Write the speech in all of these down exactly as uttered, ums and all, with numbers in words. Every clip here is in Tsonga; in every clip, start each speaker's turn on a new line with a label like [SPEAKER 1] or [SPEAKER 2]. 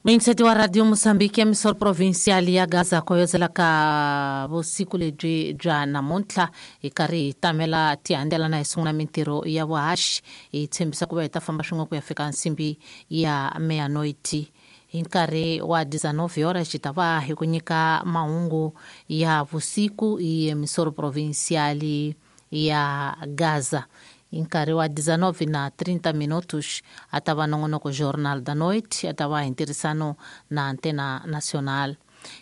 [SPEAKER 1] Muyingiseti wa Radio Mozambique emisor provincial ya Gaza koyozela ka vusiku lebyi bya namuntlha hi karhi hi tamela tihandela na hi sungula mintirho ya vuhaxi hi tshembisa ku va hi ta famba swin'we ku ya fika nsimbi ya meanoiti hi nkarhi wa dezenove horas hi ta va hi ku nyika mahungu ya vusiku hi emisor provincial ya Gaza. Hi nkarhi wa dezenove na trinta minutos a ta va nongonoko Jornal da Noite a ta va hi ntirhisano na Antena Nacional.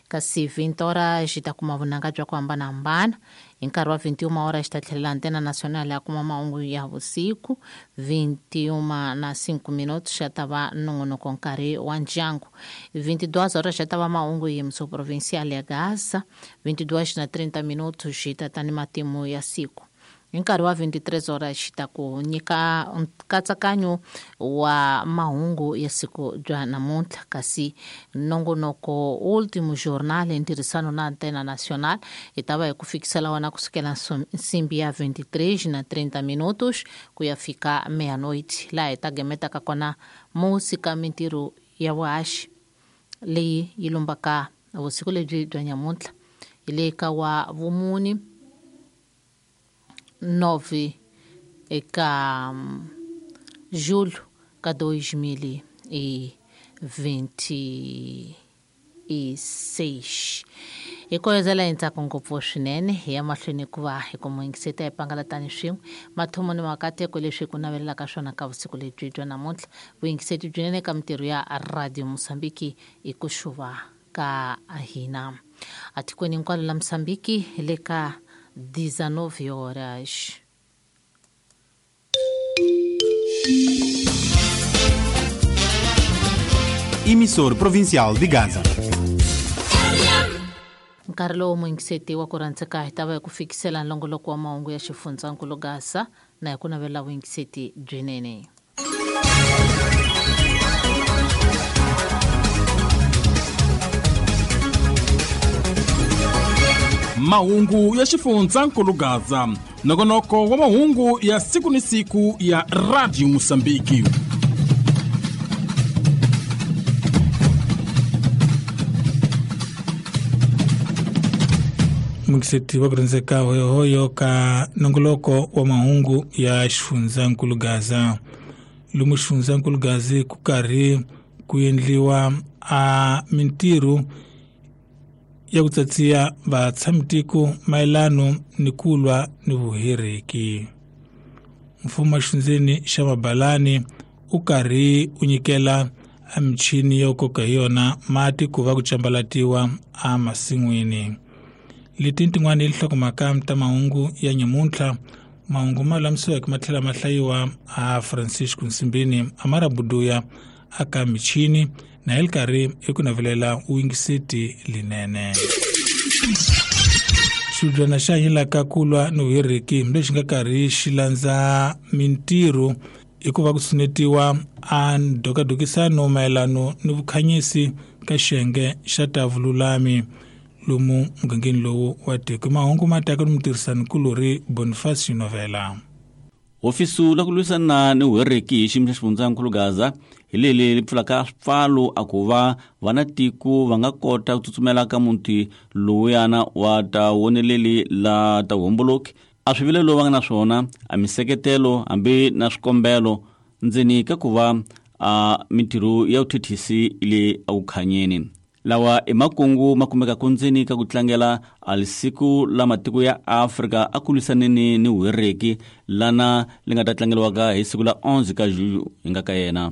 [SPEAKER 1] Kasi vinte horas hi ta kuma vunanga bya ku hambanahambana. Hi nkarhi wa vinte e uma horas hi ta tlhelela Antena Nacional ya kuma mahungu ya vusiku. Vinte e uma na cinco minutos ya ta va nongonoko nkarhi wa ndyangu. Vinte e duas horas ya ta va mahungu hi emissão provincial ya Gaza. Vinte e duas na trinta minutos hi ta ta ni matimu ya siku. Hi nkarhi wa vinte e três horas hi ta ku nyika nkatsakanyo wa mahungu ya siku bya namuntlha. Kasi nongonoko Último Jornal hi ntirhisano na Antena Nacional hi ta va hi ku fikisela wona kusukela nsimbi ya vinte e três na trinta minutos ku ya fika meia-noite, laha hi ta gemetaka kona musika mintirho ya vuhaxi leyi yi lumbaka vusiku lebyi bya nyamuntlha hi le ka wa vumuni nove eka julho ka dois mil e vinte e seis. Hi koyozela hi ntsako ngopfu swinene hi ya mahlweni ku va hi ku muyingiseta hi pangalatani swin'we mathomo ni makateko leswi ku navelelaka swona ka vusiku lebyi bya namuntlha. Vuyingiseti byinene ka mintirho ya Radio Mozambique i ku xuva ka hina atikweni hinkwalo la Mozambique hi le ka dezenove horas.
[SPEAKER 2] Emissor Provincial de Gaza.
[SPEAKER 1] Nkarhi lowu muyingiseti wa ku rhandzeka hi ta va hi ku fikisela nlongoloko wa mahungu ya xifundzankulu Gaza na hi ku navela vuyingiseti byinene.
[SPEAKER 2] Mahungu ya xifundzankulu Gaza, nongonoko wa mahungu ya siku ni siku ya Radio Mozambique.
[SPEAKER 3] Muyingiseti wa ku rhandzeka hoyohoyo ka nongoloko wa mahungu ya xifundzankulu Gaza. Lomu xifundzankulu Gaza ku karhi ku endliwa a mintirho ya ku tsatsiya vatshamitiko mayelano ni ku lwa ni vuhereki. Mfumo wa xifundzeni xa Mabalani u karhi u nyikela a michini yo koka hi yona mati ku va ku cambalatiwa emasin'wini. Leti tin'wana i nhlokomhaka ta mahungu ya nyamuntlha. Mahungu ma lulamisiweke ma tlhela ma hlayiwa a Francisco Nsimbini Amara Buduya aka michini na hi karhi i ku navelela vuyingiseti linene. Xibyana xa hanyelaka ku lwa ni vuhereki lexi nga karhi xi landza mintirho i ku va ku tshunetiwa a ndhokadhokisano mayelano ni vukhanyisi ka xiyenge xa ta vululami lomu mugangeni lowu wa tiko. Mahungu ma taka ni mutirhisanikulori Boniface Novela.
[SPEAKER 4] Hofisi la ku lwisana ni vuhereki hi xiyimo xa xifundzankulu Gaza hi leli li pfulaka swipfalo a ku va vana tiko va nga kota ku tsutsumela ka muti lowuyana wa ta woneleli la ta vuhomboloki a swivilelo va nga na swona a miseketelo hambi na swikombelo ndzeni ka ku va a mintirho ya vuthethisi le akukhanyeni. Lawa i makungu ma kumekaka ndzeni ka ku tlangela a lisiku la matiko ya Afrika a ku lwisaneni ni vuhereki lana li nga ta tlangeriwaka hi siku la onze ka julho hi nga ka yena.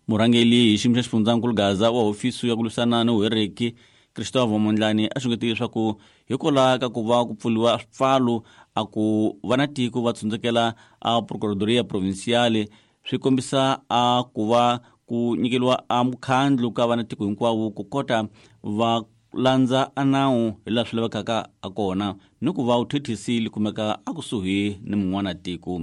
[SPEAKER 4] Murhangeri hi xiyimo xa xifundzankulu Gaza wa hofisi ya ku lwisana ni vuhereki Christopher Mondlane a xungetile leswaku hikwalaho ka ku va ku pfuriwa swipfalo a ku va na tiko va tsundzukela a Procuradoria Provincial swi kombisa a ku va ku nyikeriwa a mukhandlu ka vana tiko hinkwavo ku kota va landza a nawu hi laha swi lavekaka a kona ni ku va vuthethisi li kumeka a kusuhi ni mun'wana tiko.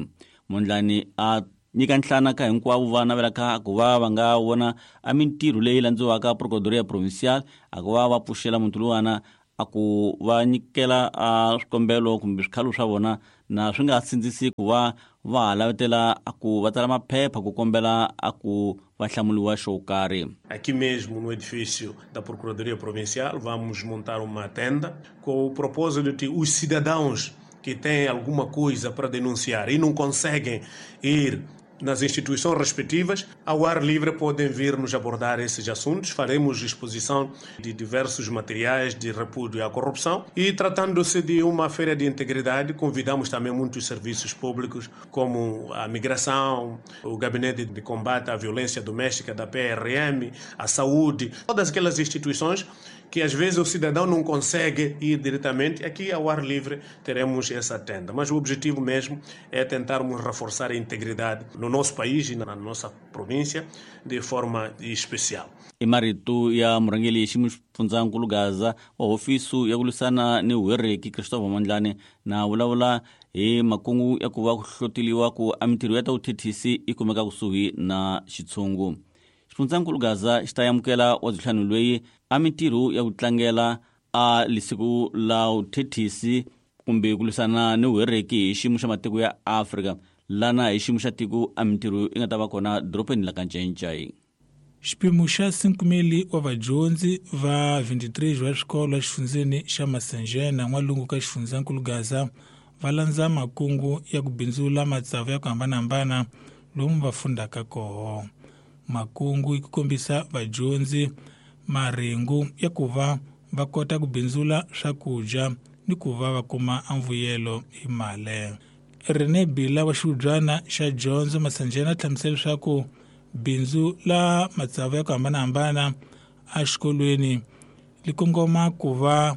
[SPEAKER 4] Mondlane a nyika nhlana ka hinkwavo va navelaka ku va va nga vona a mintirho leyi landziwaka Procuradoria Provincial a ku va va pfuxela muntu luwana a ku va nyikela a swikombelo kumbe swikhalo swa vona na swi nga sindzisi ku va va ha lavetela a ku va tsala maphepha ku kombela a ku va hlamuliwa xo karhi.
[SPEAKER 5] Aqui mesmo no edifício da Procuradoria Provincial vamos montar uma tenda com o propósito de os cidadãos que têm alguma coisa para denunciar e não conseguem ir nas instituições respectivas, ao ar livre podem vir nos abordar esses assuntos. Faremos exposição de diversos materiais de repúdio à corrupção e, tratando-se de uma feira de integridade, convidamos também muitos serviços públicos, como a migração, o Gabinete de Combate à Violência Doméstica da P R M, a saúde, todas aquelas instituições que às vezes o cidadão não consegue ir diretamente. Aqui ao ar livre teremos essa tenda. Mas o objetivo mesmo é tentarmos reforçar a integridade no nosso país e na nossa província de forma especial.
[SPEAKER 4] I marito ya murhangeri ximufundzankulu Gaza wa hofisi ya ku lwisana ni vuhereki Christopher Mondlane na vulavula hi makungu ya ku va ku hloteliwa ku a mintirho ya ta vuthethisi yi kumeka kusuhi na xitshungu. Xifundzankulu Gaza xi ta amukela wa ntlhanu loyi a mintirho ya ku tlangela a lisiku la vuthethisi kumbe ku lwisana ni vuhereki hi xiyimo xa matiko ya Afrika lana hi xiyimo xa tiko a mintirho yi nga ta va kona dorobeni la ka Ncencai.
[SPEAKER 3] Xipimo xa cinco mil wa vadyondzi va vinte e três va swikolo exifundzeni xa Masanjena n'walungu ka xifundzankulu Gaza va landza makungu ya ku bindzula matsavu ya ku hambanahambana lomu va fundaka koho. Makungu yi ku kombisa vadyondzi maringu ya ku va va kota ku bindzula swakudya ni ku va va kuma mvuyelo hi mali. René Bila wa xihubyana xa dyondzo Masanjena a hlamusela leswaku bindzu la matsavu ya ku hambanahambana exikolweni li kongoma ku va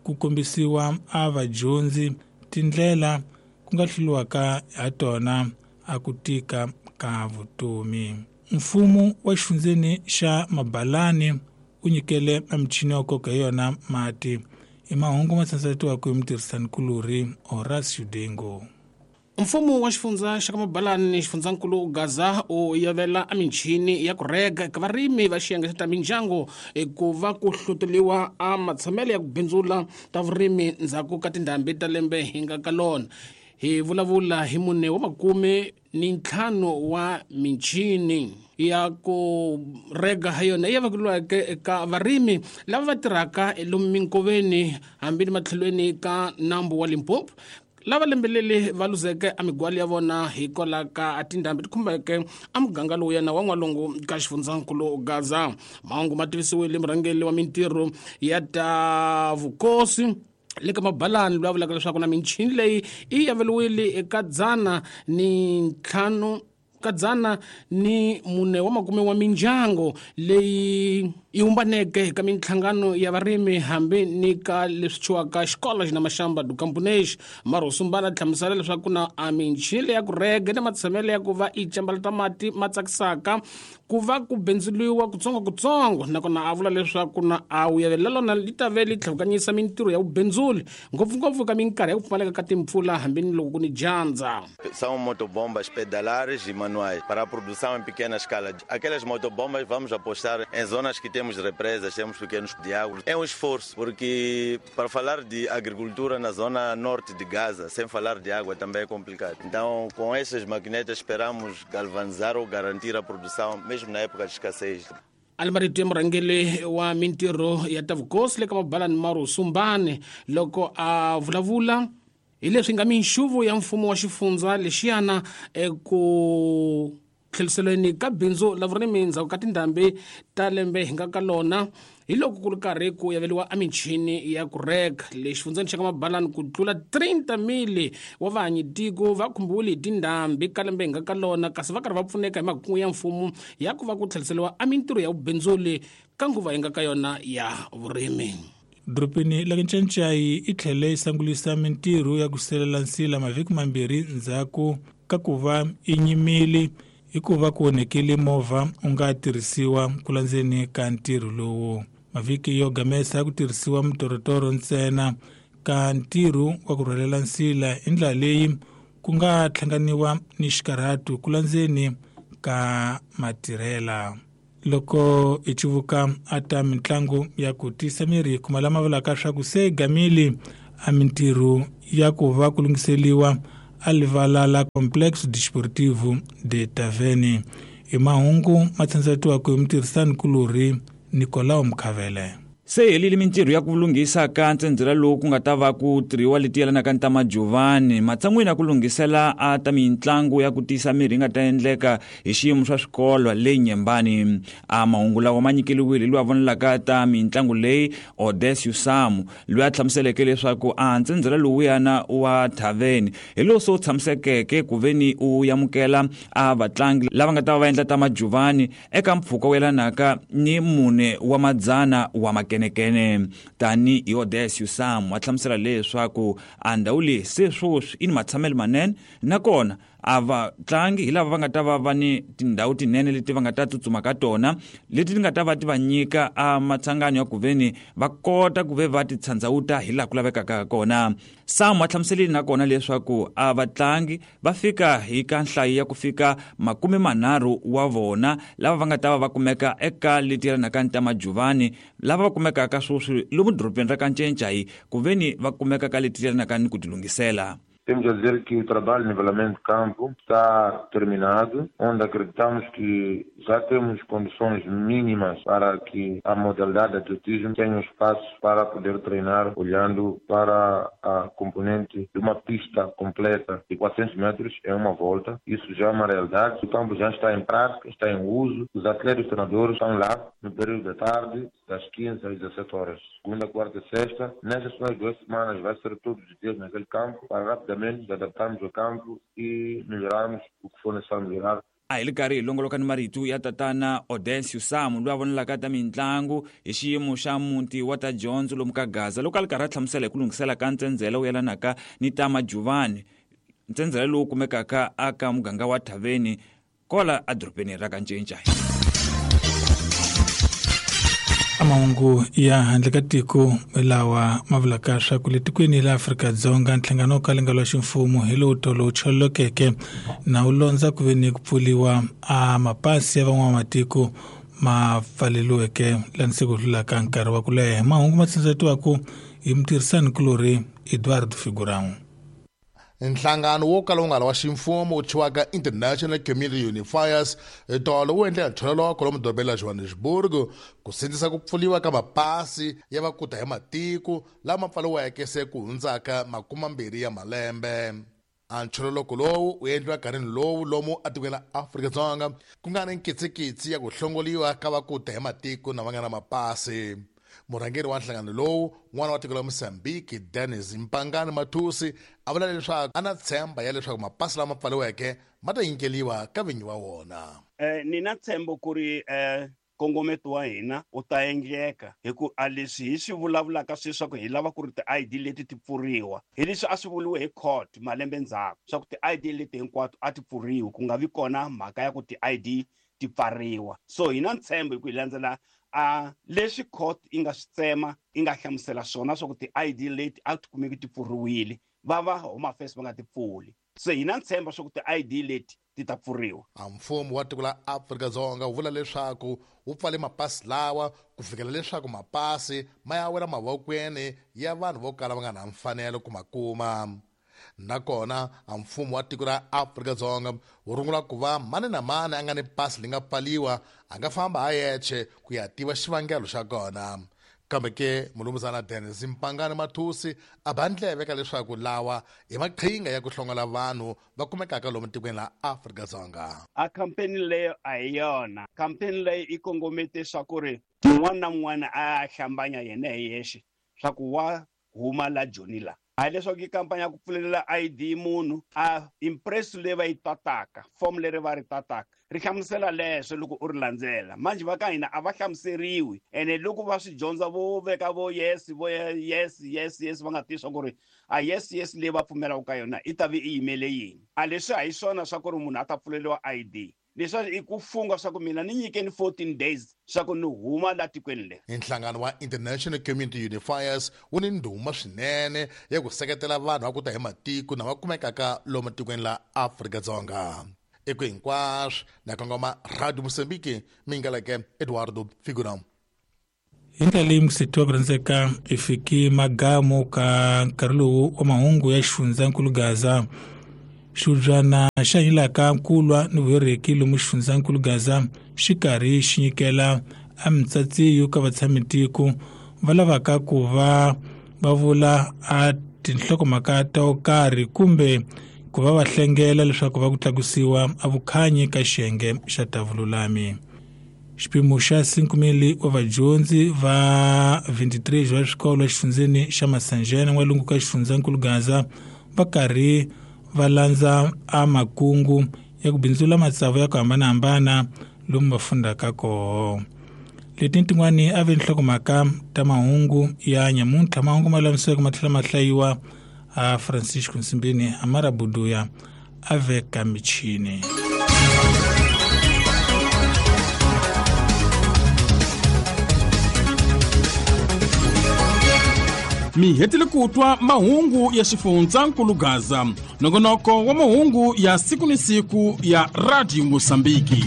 [SPEAKER 3] ku kombisiwa a vadyondzi tindlela ku nga hluriwaka ha tona a ku tika ka vutomi. Mfumo wa xifundzeni xa Mabalani wu nyikele michini ya nkoka hi yona mati. I mahungu ma sansatiwaka hi mutirhisanikulorhi Horace Udengo.
[SPEAKER 6] Mfumo wa xifundza xa ka Mabalani xifundzankulu Gaza u yavela a michini ya ku rega eka varimi va xiyenge xa ta mindyangu ku va ku hluteliwa a matshamelo ya ku bindzula ta vurimi ndzhaku ka tindhambi ta lembe hi nga ka lona. Hi vulavula hi mune wa makume ni ntlhanu wa michini ya ku rega ha yona ya vekeriweke eka varimi lava va tirhaka lomu minkoveni hambi ni matlhelweni ka nambu wa Limpopo lava lembelele va luzeke a migwali ya vona hikwalaho ka tindhambi ti khumbeke a muganga lowu yena wa n'walungu ka xifundzankulu Gaza. Mahungu ma tivisiwile murhangeri wa mintirho ya ta vukosi le ka Mabalani loyi a vulaka leswaku na michini leyi yi yaveriwile eka dzana ni ntlhanu ka dzana ni mune wa makume wa mindyangu leyi yi humbaneke eka minhlangano ya varimi hambi ni ka leswi thyiwaka xikolo xi na maxamba do Camponês. Marosumbana a hlamusela leswaku na a michini leyi ya ku rega na matshamelo ya ku va yi cambala mati ma tsakisaka ku va ku bindzuliwa kutsongokutsongo, nakona a vula leswaku na a wu yavelela lona li ta ve li tlhuvukanyisa mintirho ya vubindzuli ngopfungopfu ka minkarhi ya ku pfumaleka ka timpfula hambi ni loko ku ni dyandza.
[SPEAKER 7] São motobombas pedalares e manuais para a produção em pequena escala. Aquelas motobombas vamos apostar em zonas que temos represas, temos pequenos diálogos. É um esforço, porque para falar de agricultura na zona norte de Gaza, sem falar de água, também é complicado. Então, com essas maquinetas, esperamos galvanizar ou garantir a produção, mesmo na época de escassez.
[SPEAKER 6] Almarito ya murhangeri wa mintirho ya ta vukosi le ka Mabalani Marosumbane loko a vulavula hi leswi nga minxuvu ya mfumo wa xifundza lexiyana eku tlheliselweni ka bindzu la vurimi ndzhaku ka tindhambi ta lembe hi nga ka lona hi loko ku ri karhi ku yaveriwa a michini ya ku reka le xifundzeni xa ka Mabalani ku tlula trinta mil wa vahanyitiko va khumbiwile hi tindhambi ka lembe hi nga ka lona, kasi va karhi va pfuneka hi makungu ya mfumo ya ku va ku tlheliseriwa a mintirho ya vubindzuli ka nguva hi nga ka yona ya vurimi.
[SPEAKER 3] Dorobeni la Ncencai yi tlhele yi sangulisa mintirho ya ku selela nsila mavhiki mambirhi ndzhaku ka ku va yi nyimile hikuva ku onhekile movha wu nga tirhisiwa ku landzeni ka ntirho lowu. Mavhiki yo gamesa ku tirhisiwa mitorotoro ntsena ka ntirho wa ku rhwalela nsila hi ndlela leyi ku nga hlanganiwa ni xikarhatu ku landzeni ka matirhela. Loko hi civuka a ta mitlangu ya ku tisa miri kuma lama vulaka swa ku se gamile a mintirho ya ku va ku lunghiseliwa a livala la Complexo Desportivo de Tavene. I mahungu ma tsandzatiwaka hi mutirhisani kulorhi Nicolau Mkhavele.
[SPEAKER 8] Se helile mintirho ya ku lunghisa ka ntsendzela lowu ku nga ta va ku tirhiwa leti yelanaka ni ta majuvani matshan'wini ya ku lunghisela a ta mitlangu ya ku tiyisa mirhi yi nga ta endleka hi xiyimo swa swikolo le Nyembani. A mahungu lawa ma nyikeliwile loyi a vonelaka ta mitlangu leyi Odesio Samu loyi a hlamuseleke leswaku a ntsendzela lowuyana wa Thaveni hi lowu se wu tshamisekeke ku veni u amukela a vatlangi lava nga ta va va endla ta majuvani eka mpfhuka wu yelanaka ni mune wa madzana wa makene kenekene. Tani hi Odesio Samu a hlamusela leswaku a ndhawu leyi se sweswi i ni matshamelo manene nakona a vatlangi hi lava va nga ta va va ni tindhawu tinene leti va nga ta tsutsuma ka tona leti ti nga ta va ti va nyika a matsangano ya ku veni va kota ku ve va ti tshandzawuta hi laha ku lavekaka kona. Samu a hlamuselile nakona leswaku a vatlangi va fika hi ka nhlayo ya ku fika makume manharhu wa vona lava va nga ta va va kumeka eka leti yelanaka ni ta majuvani lava va kumekaka sweswi lomu dorobeni ra ka Ncencai ku veni va kumeka ka leti yelanaka ni ku tilunghisela.
[SPEAKER 9] Temos a dizer que o trabalho de nivelamento de campo está terminado, onde acreditamos que já temos condições mínimas para que a modalidade de atletismo tenha um espaço para poder treinar, olhando para a componente de uma pista completa de quatrocentos metros em uma volta. Isso já é uma realidade. O campo já está em prática, está em uso. Os atletas e os treinadores estão lá no período da tarde, das quinze às dezessete horas. Segunda, quarta e sexta. Nessas duas semanas vai ser todos os dias naquele campo para rapidamente nos adaptarmos ao campo e melhorarmos o que for necessário melhorar.
[SPEAKER 8] A hi li karhi hi longoloka ni marito ya tatana Odesio Samu loyi a vonelaka ta mitlangu hi xiyimo xa muti wa ta dyondzo lomu ka Gaza loko a li karhi a hlamusela hi ku lunghisela ka ntsendzela wu yelanaka ni ta majuvani ntsendzela lowu kumekaka aka muganga wa Thaveni kola edorobeni ra ka Ncencai.
[SPEAKER 3] Mahungu ya handle ka tiko lawa ma vulaka swa ku le tikweni la Afrika-Dzonga nhlangano wo kala nga ximfumo hi lowu tolo wu cholokeke na wu londza ku ve ni ku pfuliwa a mapasi ya van'wamatiko ma pfaleliweke lani se ku hlulaka nkarhi wa ku leha. Mahungu ma tsandzatiwaku hi mutirhisani kulorhi Eduardo Figurão.
[SPEAKER 10] Nhlangano wo kala wu nga ri wa ximfumo wu thyiwaka International Community Unifiers tolo wu endle nthololoko lomu dorobeni la Johannesburg ku sindzisa ku pfuliwa ka mapasi ya vakuta hi matiko lama pfaliweke se ku hundzaka makumambirhi ya malembe. A nthololoko lowu wu endliwa nkarhini lowu lomu atikweni la Afrika-Dzonga ku nga ni nkitsikitsi ya ku hlongoliwa ka vakuta hi matiko na va nga na mapasi. Murhangeri wa nhlangano lowu n'wana wa tiko la Mozambique Dennis Mpangani Mathusi a vula leswaku a na tshemba ya leswaku mapasi lama pfaliweke ma ta nyikeliwa ka vinyi wa wona.
[SPEAKER 11] Eh, ni na ntshembo ku ri eh, nkongometo wa hina wu ta endleka hi ku a leswi hi swi vulavulaka sweswaku hi lava ku ri ti-I D leti ti pfuriwa hi leswi a swi vuriwe hi court malembe ndzhaku swa ku ti-I D leti hinkwato a ti pfuriwi ku nga vi kona mhaka ya ku ti-I D ti pfariwa. So hi na ntshembo hi ku hi landzela a leswi court yi nga swi tsema yi nga hlamusela swona swa ku ti-I D leti a ti kumeki ti pfuriwile va va Home Affairs va nga ti pfuli. Se hi na ntshembo swa ku ti-I D leti ti ta pfuriwa.
[SPEAKER 10] A mfumo wa tiko la Afrika-Dzonga wu vula leswaku wu pfale mapasi lawa ku fikela leswaku mapasi ma ya wela mavokweni ya vanhu vo kala va nga na mfanelo ku ma kuma. Nakona a mfumo wa tiko ra Afrika-Dzonga wu rungula ku va mani na mani a nga ni pasi li nga pfaliwa a nga famba a yexe ku ya tiva xivangelo xa kona. Kambe ke mulumuzana Dennis Mpangani Mathusi a ba ndleve ka leswaku lawa i maqhinga ya ku hlongola vanhu va kumekaka lomu tikweni la Afrika-Dzonga.
[SPEAKER 11] A campaign leyo a hi yona. Campaign leyi yi kongomete swa ku ri un'wana na un'wana a hlambanya yena hi yexe swa ku wa huma la Joni la. A leswaku i kampani ya ku pfulelela I D munhu a impress leyi va yi tataka form leri va ri tataka ri hlamusela leswo loko u ri landzela. Manjhe va ka hina a va hlamuseriwi ene loko va swi dyondza vo veka vo yes vo yes yes yes va nga tivi swa ku ri a yes yes leyi va pfumelaka ka yona i ta vi i yimele yini. A leswi a hi swona swa ku ri munhu a ta pfuleliwa I D. Leswi i ku funga swa ku mina ni nyikeni fourteen days swa ku ni huma la tikweni leri.
[SPEAKER 10] Nhlangano wa International Community Unifiers wu ni ndhuma swinene ya ku seketela vanhu va ku ta hi matiko na va kumekaka lomu tikweni la Afrika-Dzonga. Eku hinkwaswo na kongoma Radio Mozambique mingaleke Eduardo Figurão.
[SPEAKER 3] Hi ndlela leyi musetiwa ku rhandzeka i fiki magamu ka nkarhi lowu wa mahungu ya xifundzankulu Gaza. Xibyana xa yilaka kulwa ni vuhereki lomu xifundzankulu Gaza xi karhi xi nyikela a mitsatsi yo ka vatshamitiko va lavaka ku va va vula a tinhlokomhaka to karhi kumbe ku va va hlengela leswaku va ku tlakusiwa a vukhanyi ka xiyenge xa ta vululami. Xipimo xa cinco mil wa vadyondzi va veintitrés va swikolo exifundzeni xa Masanjena n'walungu ka xifundzankulu Gaza va karhi va landza a makungu ya ku bindzula matsavu ya ku hambanahambana lomu va fundaka koho. Leti tin'wani a ve nhlokomhaka ta mahungu ya nyamuntlha. Mahungu ma lamiseke ma tlhela ma hlayiwa a Francisco Nsimbini Amara Buduya a veka michini.
[SPEAKER 2] Mi hetile ku twa mahungu ya xifundzankulu Gaza, nongonoko wa mahungu ya siku ni siku ya Radio Mozambique.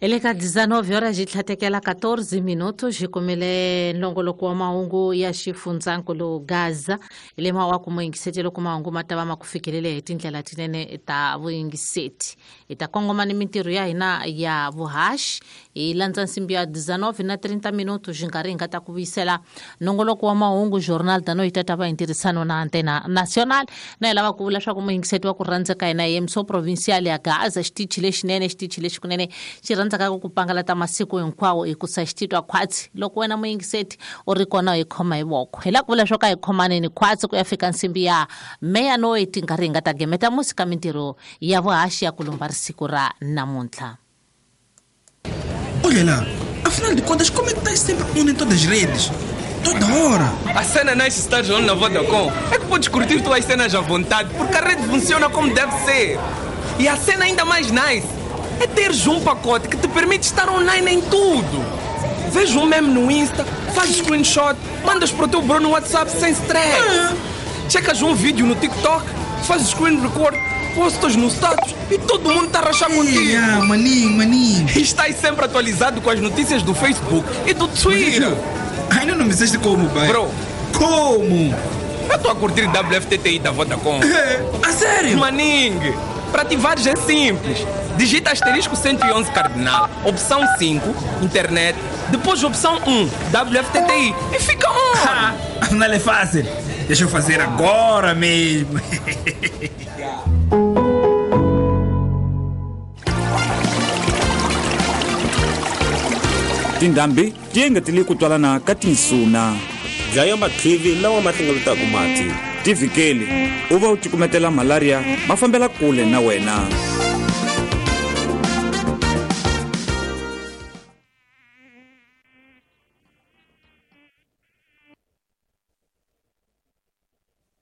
[SPEAKER 1] Eleka dezenove horas de tlhatekela quatorze minutos hi kumile nongoloko wa mahungu ya xifundzankulu Gaza lema wa ku muyingiseti loko mahungu ma ta va ma ku fikelele hi tindlela tinene ta vuyingiseti. Hi ta kongoma ni mintirho ya hina ya vuhaxi hi landza nsimbi ya dezenove na trinta minutos hi nkarhi hi nga ta ku vuyisela nongoloko wa mahungu Jornal da Noite ta va hi ntirhisano na Antena Nacional. Na hi lava ku vula swa ku muyingiseti wa ku rhandzeka hina hi M S O Provincial ya Gaza xitichi lexinene xitichi lexikunene xi rhandza ka ku pangalata masiku hinkwawo hi ku sa xititwa khwatsi loko wena muyingiseti u ri kona hi khoma hi voko. Hi lava ku vula swo ka hi khomaneni khwatsi ku ya fika nsimbi ya meia-noite nkarhi hi nga ta gemeta musi ka mintirho ya vuhaxi ya ku lumba risiku ra namuntlha.
[SPEAKER 12] Olha lá, afinal de contas, como é que estás sempre on em todas as redes? Toda hora!
[SPEAKER 13] A cena nice estar on na Vodacom é que podes curtir tuas cenas à vontade, porque a rede funciona como deve ser. E a cena ainda mais nice é teres um pacote que te permite estar online em tudo. Vês um meme no Insta, fazes screenshot, mandas para o teu bro no WhatsApp sem stress. Ah. Checas um vídeo no TikTok, fazes screen record, postas no status e todo mundo está a rachar contigo.
[SPEAKER 12] Ah, maninho, maninho.
[SPEAKER 13] E estás sempre atualizado com as notícias do Facebook e do Twitter.
[SPEAKER 12] Ainda não me disseste como, pai.
[SPEAKER 13] Bro.
[SPEAKER 12] Como?
[SPEAKER 13] Eu estou a curtir W F T T I da Vodacom.
[SPEAKER 12] A sério?
[SPEAKER 13] Maningue. Para ativares é simples. Digita asterisco cento e onze cardinal, opção cinco, internet, depois opção um, W F T T I e fica on!
[SPEAKER 12] Afinal é fácil. Deixa eu fazer agora mesmo.
[SPEAKER 8] Tindhambi ti engetele ku twalana ka tinsuna.
[SPEAKER 14] Dlaya mathivi lawa ma hlengeletaka mati.
[SPEAKER 8] Ti vhikeli u va u cukumetela malaria ma fambela kule na wena.